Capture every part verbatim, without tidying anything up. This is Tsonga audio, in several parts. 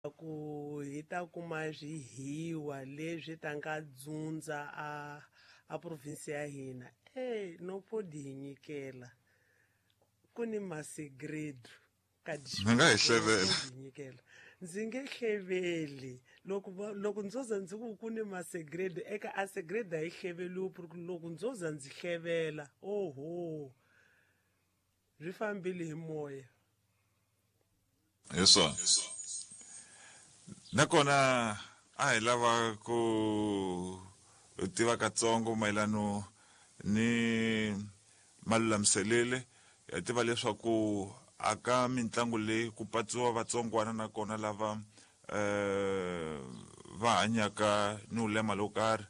Ku hi ta kuma swihiwa leswi ta nga dzundza a a province ya hina e no podi hi nyikela ku ni masegredo ka Mi nga hi hlevela. hi nyikela. Ndzi nge hleveli loko va- loko ndzo za ndzi ku ku ni masegredo eka a segredo a yi hleveliwi ku loko ndzo za ndzi hlevela oho swi fambile hi moya. Hi swona, nakona a hi lava ku tiva katsongo mayelano ni malulamiselele. Ya tiva leswaku aka mitlangu leyi ku patsiwa vatsongwana nakona lava eh va hanyaka ni ulema lowo karhi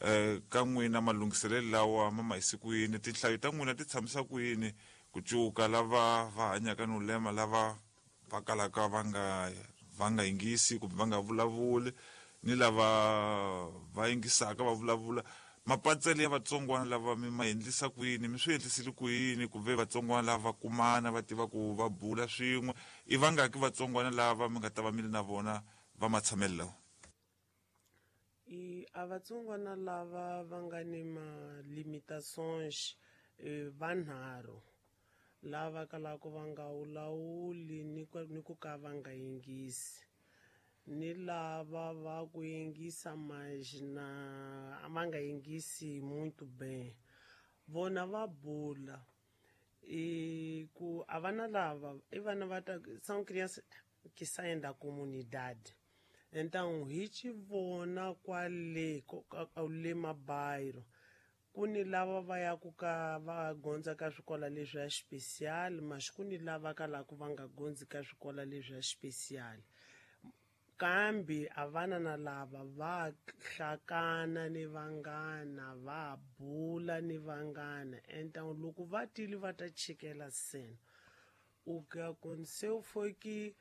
eh ka n'wina malunghiselelo lawa ma ma yisi ku yini, tinhlayo ta n'wina ti tshamisa ku yini ku cuka lava va hanyaka ni ulema lava va kalaka va nga va nga yingisi kumbe va nga vulavuli ni lava va yingisaka va vulavula, mapatsele ya vatsongwana lava mi ma endlisa ku yini, mi swi endlisile ku yini ku ve vatsongwana lava kumana va tiva ku va bula swin'we, i vangaki vatsongwana lava mi nga ta va mi ri na vona va matshamelo lawa? I a vatsongwana lava va nga ni ma-limitations vanharhu lava kalaka va nga wulawuli ni ku ni ku ka va nga yingisi, ni lava va ku yingisa mas na va nga yingisi muito bem, vona va bula i ku a vana lava i vana va ta são crianças que saem da comunidade, então hi ci vona kwale le mabairro ku ni lava va yaku ka va gondza ka swikola leswi ya special, mas ku ni lava kalaka va nga gondzi ka swikola leswi ya special, kambe a vana na lava va hlakana ni vanghana va bula ni vanghana, então loko va tile va ta chikela cena. O que aconteceu foi que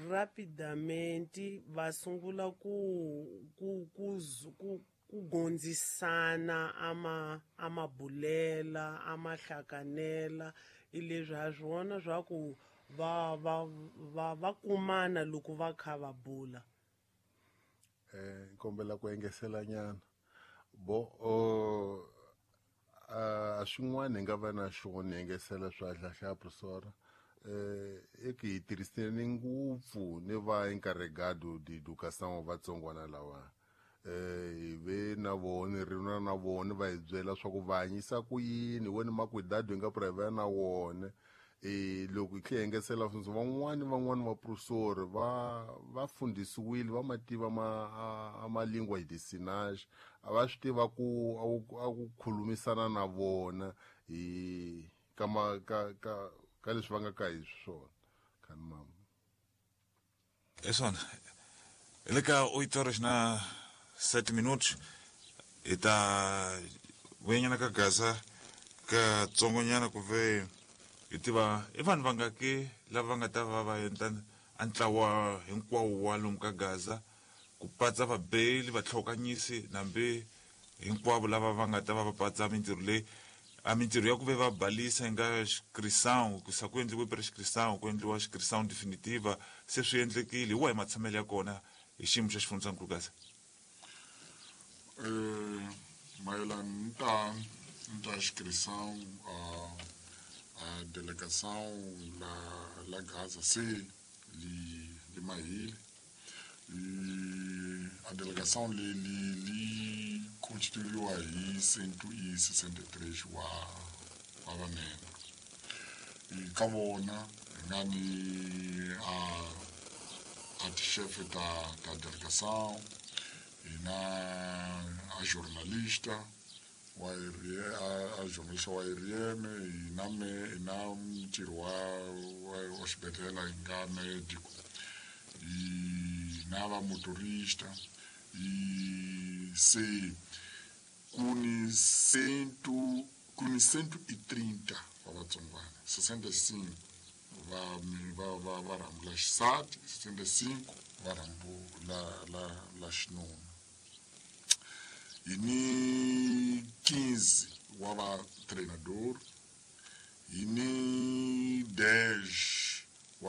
rapidamente va sungula ku ku ku ku ku gondzisana ama amabulela amahlakanela i leswi ha swona swa ku va va va va kumana loko va kha va bula. Eh kombela ku engesela nyana bo o a swin'wana hi nga va na xona engesela swa hlahla professor eh e ki hi tirhisene ngopfu ni va encarregado de educação vatsongwana lawa eh hi ve na vona ri na na vona va hi byela swa ku va hanyisa ku yini wena makwidado hi nga private na wona e loko hi tlhe engesela van'wani van'wani va professor va va fundisiwile va mativa ma a ma lingua de sinais a va swi tiva ku a ku khulumisana na vona hi ka ma ka ka ka leswi va nga ka hi swona khani mama. É swona hi le ka oito horas na sete minutos hi ta vuyanyana ka gaza ka tsongonyana ku ve hi tiva i vanhu vangaki lava nga ta va va endla a ntlawa hinkwawo wa lomu ka Gaza ku patsa vabeli vatlhokanyisi nambi hinkwavo lava va nga ta va va patsa mintirho leyi a mintirho ya ku ve va balisa hi nga xikrisão ku sa ku endliwe prescrição ku endliwa xikrisão definitiva se swi endlekile hi wahi matshamelo ya kona hi xiyimo xa xifundzankulu Gaza? Eh mayelana ni ta ni ta xikrisão a a delegação la la Gaza se li li mahile e a delegação li li li constituíwa hi cento e sessenta e três wa wa vamembro e ka vona hi nga ni a a tixefe ta ta delegação hi na a jornalista wa a, a jornalista wa R M hi na me hi na mutirhi wa wa, wa xibedhlele hi nga médico hi na va motorista e se ku ni cento ku ni cento e trinta wa vatsongwana sessenta e cinco va va va va rhambu la xisati sessenta e cinco va rhambu la la la xinuna hi ni quinze wa va treinador hi ni dez